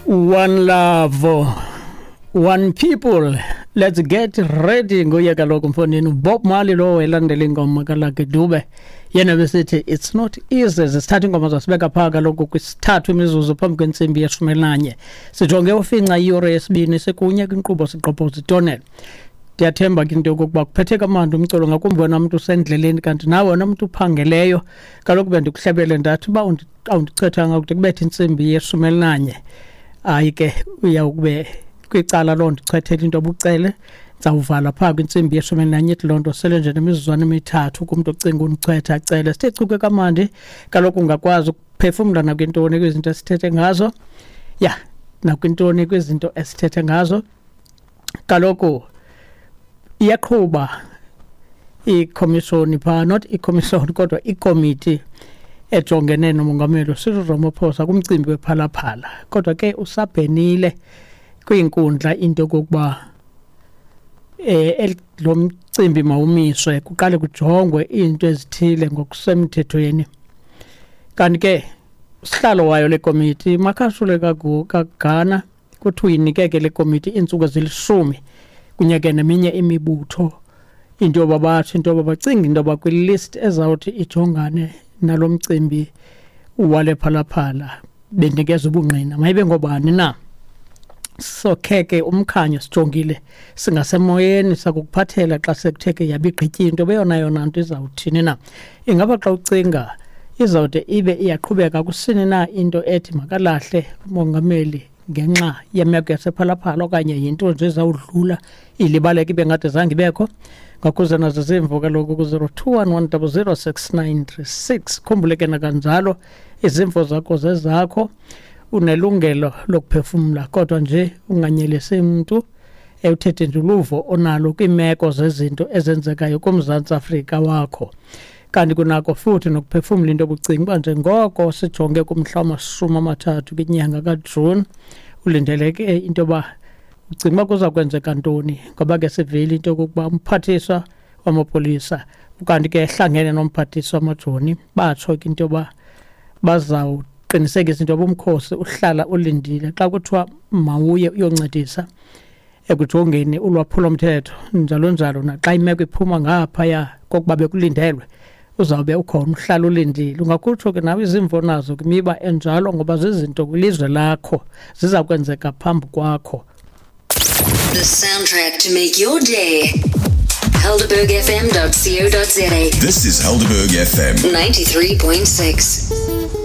One love, one people. Let's get ready. Nguye kaloku mfondini uBob Marley lowo elandela ingoma kaLucky Dube. Yena besithi it's not easy. Sisithatha ingoma zasibeka phaa kaloku kwisithathu imizuzu phambi kwentsimbi yeshumi elinanye. Sijonge ufinca iyure yesibini sikunye kwinkqubo sigqobhoza itonel. Ndiyathemba ke into yokokuba kuphethe kamandi umculo ngakumbi wena mntu usendleleni kanti nawe wena mntu uphangeleyo. Kaloku bendikuhlebele ndathi uba awundichethanga kude kubethe intsimbi yeshumi elinanye. Hayi ke uyawukube kwicala loo ndichwethela into obucele ndizawuvala phaa kwintsimbi yeshumi elinanye ithi loo nto sele nje nemizuzwana emithathu kumntu ocinga undichwetha acele. Sithe chuke kamandi kaloku ungakwazi ukuphefumla nakwintoni kwizinto esithethe ngazo. Ya, nakwintoni kwizinto esithethe ngazo. Kaloku iyaqhuba ikhomishoni phaa, not ikhomishoni kodwa ikomiti ejongene nomongameli Cyril Ramaphosa kumcimbi wephalaphala. Kodwa ke usabhenile kwiinkundla into yokokuba lo mcimbi mawumiswe kuqale kujongwe iinto ezithile ngokusemthethweni. Kanti ke usihlalo wayo le komiti Makashule kaGana kuthiwa uyinike ke le komiti iintsuku ezilishumi kunye ke neminye imibutho into yoba batsho into yoba bacinga into yoba kwilist ezawuthi ijongane nalo mcimbi wale phalaphala benikeza ubungqina mayibe ngobani na. Sokhe ke umkhanyo sijongile singasemoyeni sakukuphathela xa sekuthe ke yabigqityi into beyona yona nto izawuthini na. Ingaba xa ucinga izawude ibe iyaqhubeka kusini na into ethi makalahle umongameli ngenxa yemeko yasephalaphala okanye yinto nje ezawudlula ilibaleke ibe ngathi zange ibekho. Ngakuze nazo zimvo kaloku ku-021 100 6936. Khumbule ke nakanjalo izimvo zakho zezakho, unelungelo lokuphefumla kodwa nje unganyelisi mntu ewuthethe nje uluvo onalo kwiimeko zezinto ezenzekayo kuMzantsi Afrika wakho. Kanti kunako futhi nokuphefumla into obucinga uba njengoko sijonge kumhla wamashumi amathathu kwinyanga kaJuni ulindeleke into yoba ucinga uba kuza kwenzeka ntoni ngoba ke sivile into yokokuba umphathiswa wamapolisa ukanti ke ehlangene nomphathiswa wamajoni batsho ke into yoba bazawuqinisekisa into yoba umkhosi uhlala ulindile xa kuthiwa mawuye uyoncedisa ekujongeni ulwaphulomthetho njalo njalo naxa imeko iphuma ngaphaya kokuba bekulindelwe uzawube ukhona uhlala ulindile. Ungakutsho ke nawe izimvo nazo kwimiba enjalo ngoba zizinto kwilizwe lakho ziza kwenzeka phambi kwakho. The soundtrack to make your day. HelderbergFM.co.za. This is Helderberg FM 93.6.